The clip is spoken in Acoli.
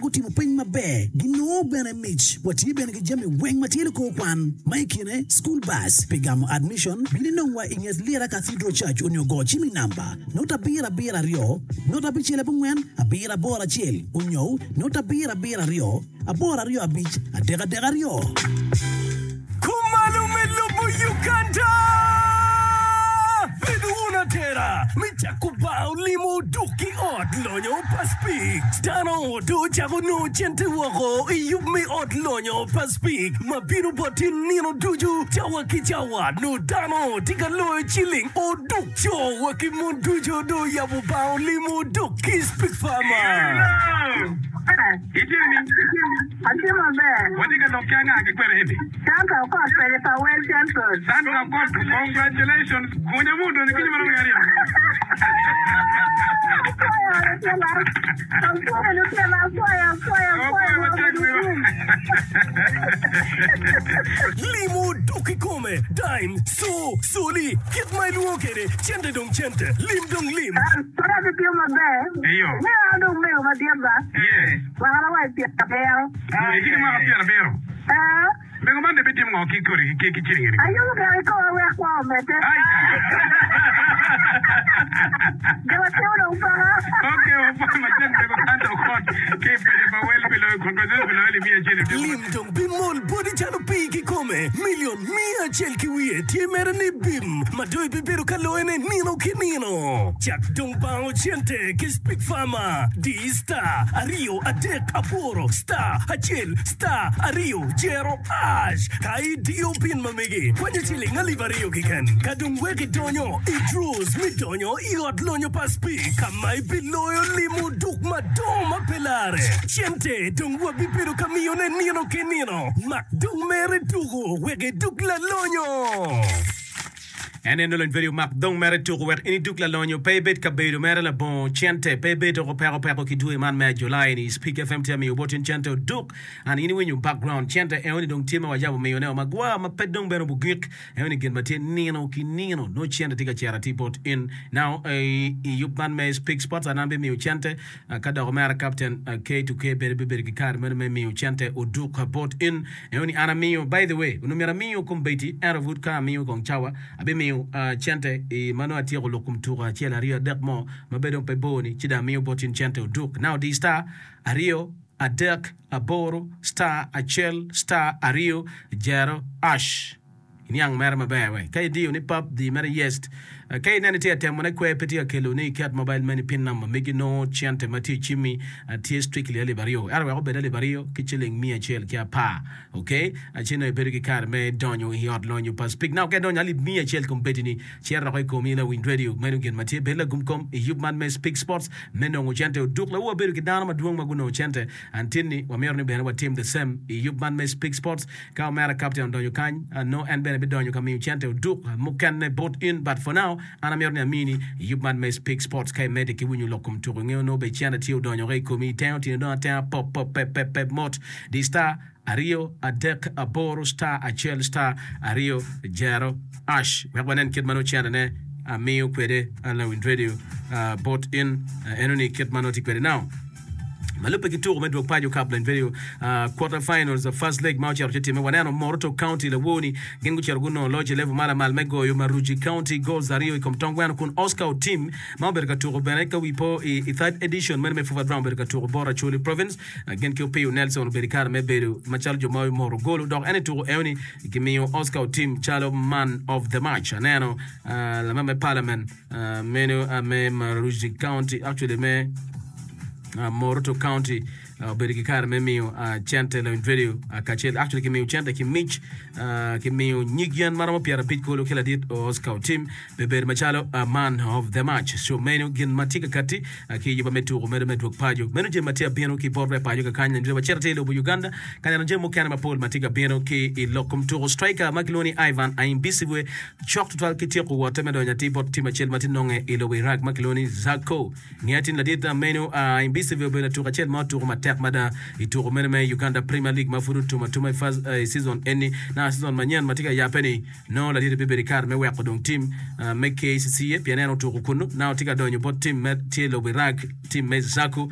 gutimo peny maber ginongo bene mic. Watye bene ki jami weng ma tye likor kwan, ma i kine school bus. Pi gamo admission, bin inongwa i nget Lira Cathedral Church onyo go cim i namba, not abiro abiro aryo, not abicel abongwen, abiro aboro acel, onyo not abiro abiro aryo, aboro aryo abic, adek adek aryo. Kumalo me lobo Uganda! Bed wun atera me cako bar olimo duk ki ot lonyo pa Speke. Dano dong ocako nongo cente woko i yub me ot lonyo pa Speke ma bino bot in nino ducu cawa ki cawa. Nongo dano tye ka loyo ciling oduk. Co wa ki mon ducu dong oyabo bar olimo duk ki Speke Farmer. Itye ni? Atye maber. Watye ka lok ki anga ki kwene eni? Sandra Okot kwede pa Well Central. Sandra Okot, congratulations. Gunya mu odonyo kinyo marom ki aryo. Apwoyo lutela. Apwoyo lutela, apwoyo, apwoyo, apwoyo. Apwoyo matek wiwa. Limo dok kikome, dime, co, coli, kit ma ilwongo kwede, cente dong cente, lim dong lim. Pud atye maber. Eyo. Nio an dong mego madit ba. Yes. Mwakana wa i pyerabiro. Itye ki mwaka pyerabiro. Ee. Mego man dong ibitimo ngo ki kodi ki ki ciling eni? Ayubo gire ki koma wek kwo omedde. Jo matino dong paka. Ok, wapwoyo matek mego Santa Okot ki i paco pa Wel pi loyo congratulations pi loyo alip miya acel i odiko Lim dong bimol boti calo pii kikome. Milion miya acel ki wiye tye mere ni bim ma dong ibibedo ka loyone nino ki nino. Cak dong bango cente ki Speak Farmer. Di star aryo adek aboro star acel star aryo jero ash ka idiyo pin ma megi kwanyo ciling alip aryo keken. Ka dong wek idonyo i draws me donyo i ot lonyo pa Speak ka ma ibiloyo limo duk madongo ma pe lare. Cente dong wabibedo ka miyone nino ki nino. Mak dong mere tuku wek iduk lalonyo. En en olony peri omak dong mere tuku wek in iduk lalonyo pe ibed ka bedo mere labongo cente pe ibed doko peko peko ki dwe man me Ajulai ni Speak FM tye amiyo bot in cente oduk and in iwinyo background cente eoni dong tye ma wajabo miyo ne o magwar ma pe dong bene obugik eoni gin ma tye nino ki nino nongo cente tye ka cito atir bot in now i yub man me Speak Sports an abimiyo cente Ka dok omera Captain K2K bene bibedo ki kare meno me miyo cente oduk bot in. Eno ni an amiyo, by the way, onongo myero amiyo kombeddi, ento pud ka amiyo kong cawa, abimiyo cente i ma nongo atyeko lok kom tuko acel, aryo, adek mo ma bene dong pe bor ni, ci dong amiyo bot in cente oduk. Now di star aryo, adek, aboro, star acel, star aryo, jero, ash. Iniang mere maber we. Ka idiyo ni pap, di mere yes. Ka ineno itye ka temo ne kwer pe tye ka kelo ni iket mobile money pin number megi nongo cente ma tye icimmi tye strictly alip aryo. Ento wek obed alip aryo ki ciling miya acel ki apar. Ok? Ci nongo ibedo ki kare me donyo i ot lonyo pa Speak Now. Ka idonyo alip miya acel kombeddi ni cito doko i komi lawiny radio. Meno gin ma tye. Bed lagum kom i yub man me Speak Sports me nongo cente oduk. Lawu wabedo ki dano madwong ma gunongo cente and tin-ni wamito ni bene watim the same i yub man me Speak Sports. Ka omera captain odonyo kany, nongo en bene bidonyo ka miyo cente oduk mukene bot in. But for now, an amito ni amini yub man me Speak Sports ka imedde ki winyo lok kom tuko. Ingeyo nongo bene cente tye odonyo i komi, itengo tyeni dong atenga pop pop pep pep pep mot. Di star aryo adek aboro star acel star aryo jero ash wek wanen kit ma nongo centene amiyo kwede lawiny radio bot in. Enoni kit ma nongo tye kwede now. Ma lubbe ki tuko me dwog paco Cup Lane Video Quarter Finals First Leg ma ocito ci timme, waneno Moroto County lawor-ni gin gucito gunongo loc i level ma lamal me goyo Maruji County goals aryo i kom tong gweno kun Oscar Otim ma obedo ka tuko bene ka wi po i third edition meno me Fufa Brown obedo ka tuko bot Acholi Province gin ki Opiyo Nelson obedo i kare me bedo macalo jo ma omoto golo dok en i tuko eoni kimiyo Oscar Otim calo man of the match. Aneno lamemba me parliament Meno me Maruji County, actually me Moroto County obedo ki kare me miyo cente lawiny radio kacel actually kimiyo cente ki mic kimiyo nyig yen maromo 50 kulu ki ladit Oscar Otim me bedo macalo man of the match. So meno gin ma tye ka kati ki yuba me tuko medo me dwog paco. Meno jami ma tye abino ki bot re paco kakany lawiny radio wacito atir i lobo Uganda ka neno jami mukene mapol ma tye ka bino ki i lok kom tuko striker ma kilwongo ni Ivan Aimbisibwe Cok tutwal ki tyeko wotte me donyo atir bot tim acel ma tye nonge i lobo Iraq ma kilwongo ni Zakho. Nge atir ni ladit meno Imbisive obedo latuk acel ma otuko matek mada i tuko meno me Uganda Premier League ma pud otum atuma i season eni. Naka season manyen ma tye ka yabbe ni nongo ladit bibedo i kare me weko dong tim me KCCA pien en otuko kunu. Naka tye ka donyo bot tim me tye i lobo Iraq tim me Zakho.